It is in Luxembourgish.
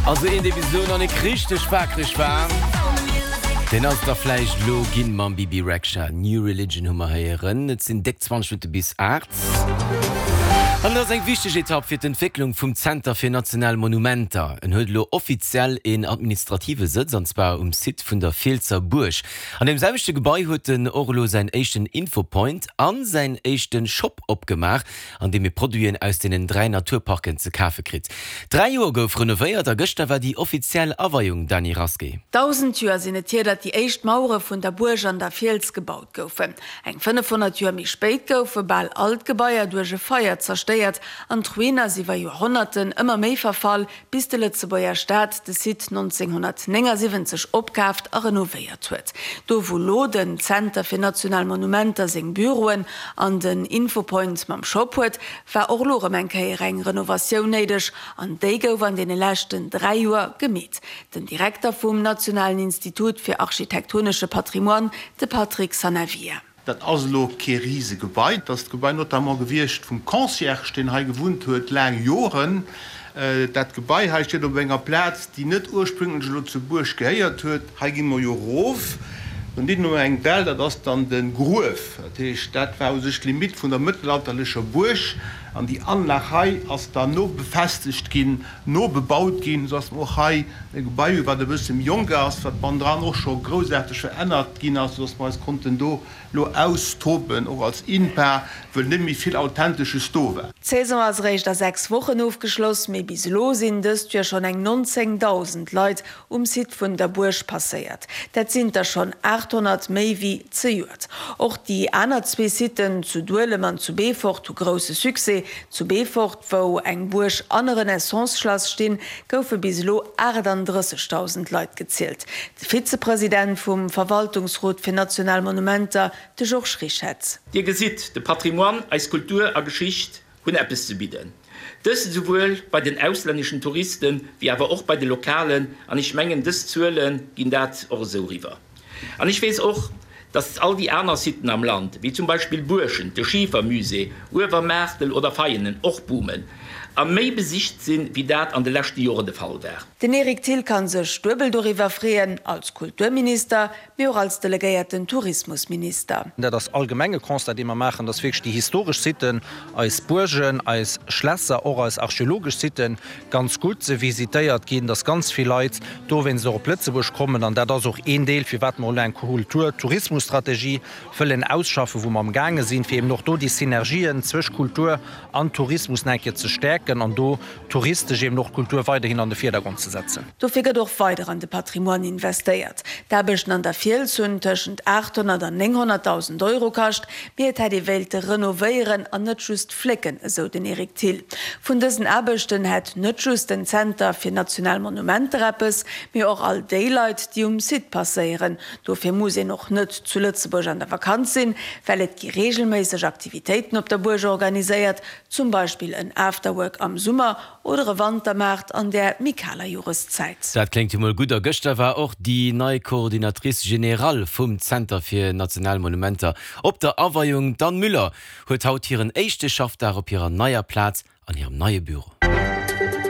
Also een dee bis elo nach nik richteg waakreg war, deen ass et da vläicht elo ginn mam Bebe Rexha. New Religion hu mer héieren. Et sinn déck 20 Minutte bis 8. An et ass eng wichteg Etapp fir d'Entwécklung vum Zenter fir national Monumenter. En huet elo offiziell een administrative Sëtz, an zwar um Site vun der Fielsser Buerg. An deem selwechte Gebai huet en och elo säin éischten Infopoint a säin éischte Shop opgemaach, an deem ee Produiten aus deenen 3 Naturparken ze kafe kritt. 3 Joer gouf renovéiert a gëschter war déi offiziell Aweiung, Dany Rasqué. 1.000 Joer sinn et hier, datt déi éischt Mauere vun der Buerg an der Fiels gebaut goufen. Eng 500 Joer méi spéit goufe bal all d'Gebaier duerch e Feier zerstéiert an d'Ruin ass iwwer Joerhonnerten ëmmer méi verfall, bis de Lëtzebuerger Staat de Site 1979 opkaaft a renovéiert huet. Do wou lo den Zenter fir national Monumenter seng Büroen an den Infopoint mam Shop huet, war och lo rëm eng Kéier eng Renovatioun néideg an déi gouf an deene leschten 3 Joer gemeet. Den Direkter vum Nationalen Institut fir architektonesche Patrimoine, de Patrick Sanavia. Dat ass elo kee Risegebai. Dat ass d'Gebai notamment gewiescht vum Concierge, deen hei gewunnt huet laang Joren. Dat Gebai hei steet op enger Plaz, déi net ursprünglech elo zur Buerg gehéiert huet. Hei gi mer jo erof, do hunn mer eng Dell, dat ass dann de Gruef. Dat heescht, dat war u sech d'Limite vun der mëttelalterlecher Buerg. An déi Anlag hei ass dann no befestegt ginn, no bebaut ginn, esou dass mer och hei e Gebai hu wat e bësse méi jonk ass, wat bannendran och scho groussaarteg verännert ginn ass, esou dass mer eis konnten do lo austoben, och als INPA, wëll net méi vill Authentesches do war. D'Saison ass eréischt a 6 Wochen ofgeschloss, mee bis elo sinn dëst Joer schonn eng 19.000 Leit um Site vun der Buerg passéiert. Dat sinn der schonn 800 méi wéi zejoert. Och déi aner zwee Siten zu Duelem an zu Beefort hu grousse Succès. Zu Beefort, wou eng Buerg an e Renaissance-Schlass stinn, goufe bis elo 38.000 Leit gezielt. De Vizepresident vum Verwaltungsrot fir national Monumenter, de Georges Richetz. Dir gesitt, de Patrimoine, eis Kultur a Geschicht hunn eppes ze bidden. Dëst esouwuel bei den auslänneschen Touristen, wéi awer och bei de lokalen, an ech mengen dës Zuele ginn dat och esou eriwwer. An ech weess och, dass all déi aner Siten am Land, wéi zum Beispill Buerschent, de Schifermusée, Uewermaartel oder Veianen och boomen a méi besicht sinn, wéi dat an de leschte Joren de Fall war. Den Eric Thill ka sech duebel doriwwer freeën, als Kulturminister, mee och als delegéierten Tourismusminister. Dat ass allgemeng e Constat, dee mer maachen, dass wierklech déi historesch Sitten, eis Buergen, eis Schlässer, och eis archeologesch Sitten ganz gutt visitéiert ginn, dass ganz vill Leit dowéinst och op Lëtzebuerg kommen. An dat ass och een Deel, firwat mer elo eng Kultur-Tourismus-Strategie wëllen ausschaffen, wou mer amgaange sinn, fir eben och do déi Synergien zwësch Kultur an Tourismus nach eng Kéier ze stäerken an do touristesch eben och d'Kultur weiderhin an de Virdergrond ze setzen. Dofir gëtt och weider an de Patrimoine investéiert. D'Aarbechten an der Fiels hunn tëschent 800 an 900.000 Euro kascht, mee et hätt ee wéilte renovéieren an net just flécken, esou den Eric Thill. Vun dësen Aarbechten hätt net just den Zenter fir national Monumenter eppes, mee och all déi Leit, déi um Site passéieren. Dofir muss een och net zu Lëtzebuerg an der Vakanz sinn, well et gi reegelméisseg Aktivitéiten op der Buerg organiséiert, zum Beispill en Afterwork am Summer oder e Wantermaart an där méi kaler Joreszäit. Dat kléngt jo mol gutt. A gëschter war och déi nei Coordinatrice générale vum Zenter fir national Monumenter op der Aweiung. D'Anne Müller huet haut hiren éischte Schaffdag op hirer neier Plaz an hirem neie Büro.